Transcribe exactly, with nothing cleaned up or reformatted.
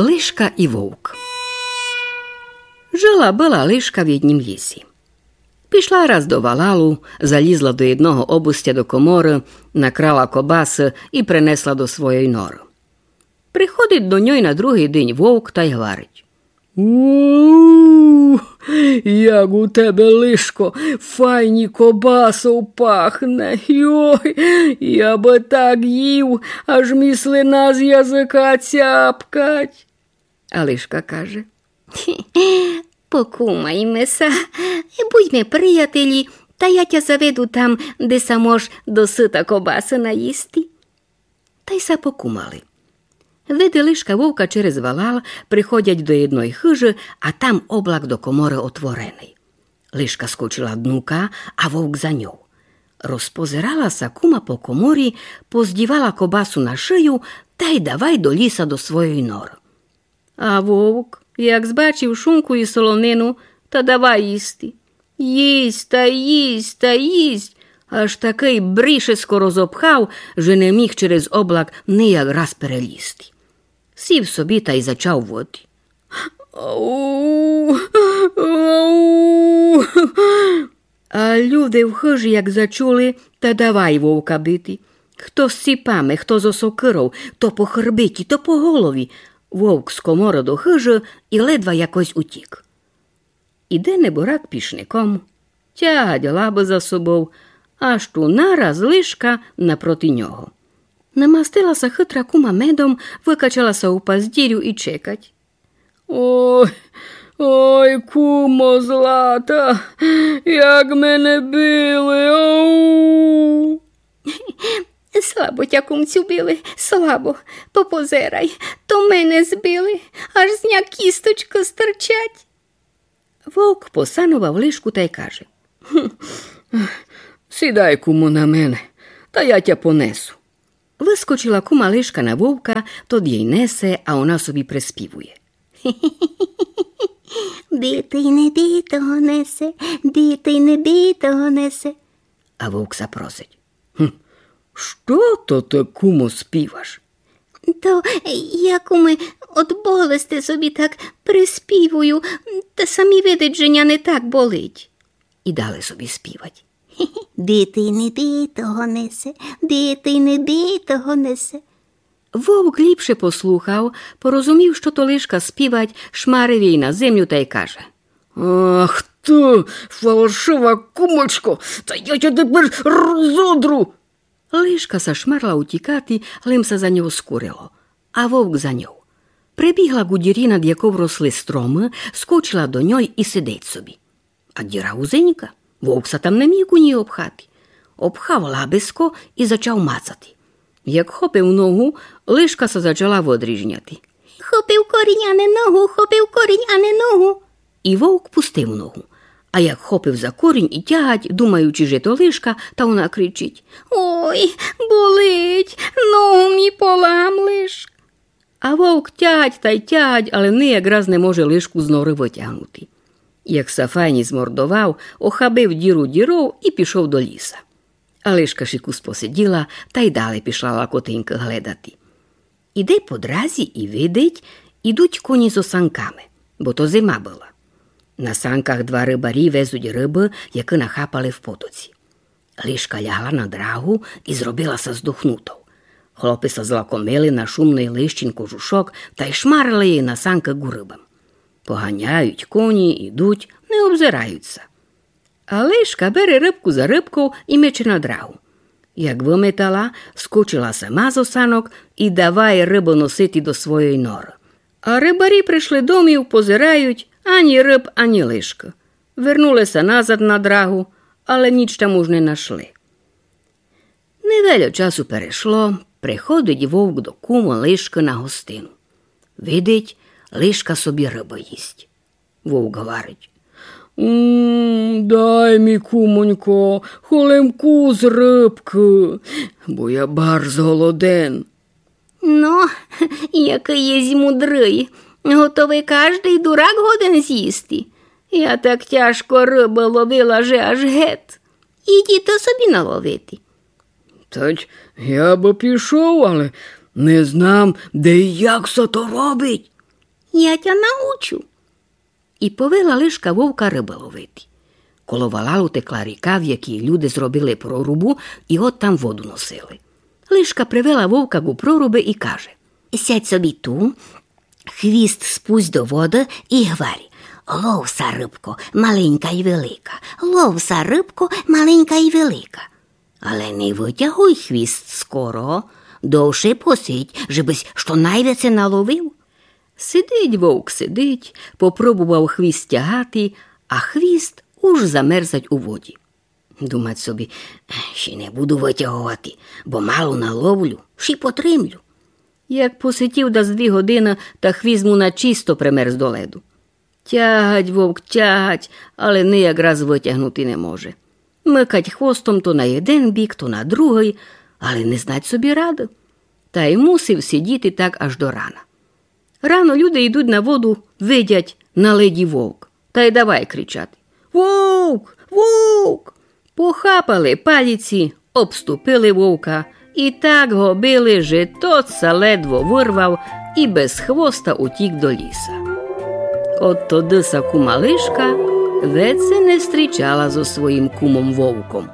Лишка и вовк. Жила была лишка в єднім лїсї. Пішла раз до валалу, залїзла до єдного обустя до коморы, накрала кобасы и принесла до своєй норы. Приходить до ньой на другий день вовк тай гварить: «У, як у тебе, лишко, файні кобасов пахне! Йой, я бы так їв, аж ми слина з языка цяпкать». А лишка каже: «Покумайме ся, будьме приятелї, та я тя заведу там, де ся мож досыта кобасы наїсти». Тай ся покумали. Види лишка вовка через валал, приходять до єдной хыжы, а там облак до коморы отворений. Лишка скочила днука, а вовк за ньов. Розпозирала ся кума по коморї, поздївала кобасу на шыю тай давай до лїса до своєй норы. А вовк, як збачив шунку и солонину, та давай їсти. Їсть та їсть та їсть, аж такый брішеско розопхав, же не міг через облак нияк раз перелїзти. Сів собі тай зачав воти. Ау, ау. А люде в хыжі, як зачули, та давай вовка бити. Хто з ціпами, хто зо сокыров, то по хырбитї, то по голові. Вовк з коморы до хыжы и ледва якось утік. Іде неборак пішником, тягать лабы за собов, аж ту нараз лишка напроти нього. Намастила ся хытра кума медом, выкачала ся у паздірю и чекать. Ой, ой, кумо злата, як мене били, оу! Слабо тя, кумцю, били, слабо. Попозерай, то мене збили, аж з ня кісточкы стырчать. Вовк посановав лишку тай каже: «Гм, сідай, кумо, на мене, та я тя понесу». Выскочила кума лишка на вовка, тот єй несе, а она собі приспівує: «Битый не битого несе, битый не битого несе». А вовк ся просить: «Гм, што то ты, кумо, співаш?» «То я, куме, од болести собі так приспівую, та ся ми видить, же ня не так болить». И далі собі співать: «Битый не битого несе, битый не битого несе». Вовк ліпше послухав, порозумів, што то лишка співать, шмарив єй на землю тай каже: «Ах ты, фалшива кумочко, та я тя тепер розодру!» Лишка ся шмарла утікати, лем ся за нього скурило, а вовк за ньов. Прибігла ку дірї, над яков росли стромы, скочила до ньой и сидить собі. А діра вузенька, вовк ся там не міг у ній обхати. Обхав лабеско и зачав мацати. Як хопив ногу, лишка ся зачала выдріжняти. «Хопив корінь, а не ногу, хопив корінь, а не ногу». И вовк пустив ногу. А як хопив за корінь и тягать, думаючи, же то лишка, та она кричить: «Ой, болить, ногу ми поламлеш». А вовк тягать тай тягать, але нияк раз не може лишку з норы вытягнути. Як ся файні змордовав, охабив діру діров и пішов до лїса. А лишка ши кус посидїла, тай дале пішла лакотинькы гледати. Іде по дразі и видить, ідуть конї зо санками, бо то зима была. На санках два рыбарї везуть рыбы, якы нахапали в потоці. Лишка лягла на драгу и зробила ся здохнутов. Хлопи ся злакомили на шумный лищин кожушок тай шмарили єй на санкы ку рыбам. Поганяють конї, ідуть, не обзирають ся. А лишка бере рыбку за рыбков и мече на драгу. Як выметала, скочила сама зо санок и давай рыбы носити до своєй норы. А рыбарї пришли домів, позирають, ані рыб, ані лишкы. Вернули ся назад на драгу, але ніч там уж не нашли. Невельо часу перешло, приходить вовк до кумы лишкы на гостину. Видить, лишка собі рыбы їсть. Вовк гварить: «М, дай ми, кумонько, холем кус рыбкы, бо я барз голоден». «Но, якый єсь мудрый, готовый каждый дурак годен зїсти. Я так тяжко рыбы ловила, же аж гет. Іди то собі наловити». «Тать я бы пішов, але не знам, де и як ся то робить». Я тя научу. І повела лишка вовка рыбы ловити. Коло валалу текла ріка, в якій люди зробили прорубу і от там воду носили. Лишка привела вовка ґу прорубы і каже: Сядь собі ту, хвіст спусть до воды і гварі: Лов ся, рыбко, маленька й велика, лов ся, рыбко, маленька й велика. Але не вытягуй хвіст скоро, довше посидь, жебысь што найвеце наловив. Сидить вовк, сидить, попробовав хвіст тягати, а хвіст уж замерзать у воді. Думать собі: Ще не буду вытяговати, бо мало наловлю, ще й потримлю. Як посидів дас дві годины, та хвіст му начисто примерз до леду. Тягать вовк, тягать, але нияк раз вытягнути не може. Мыкать хвостом то на єден бік, то на другый, але не знать собі рады. Та й мусив сидіти так аж до рана. Рано люди йдуть на воду, видять на леді вовк. Та й давай кричати: Вовк! Вовк! Похапали паліці, обступили вовка і так го били, же тот ся ледво вырвав і без хвоста утік до ліса. От тогды ся кума лишка веце не стрічала зо своїм кумом вовком.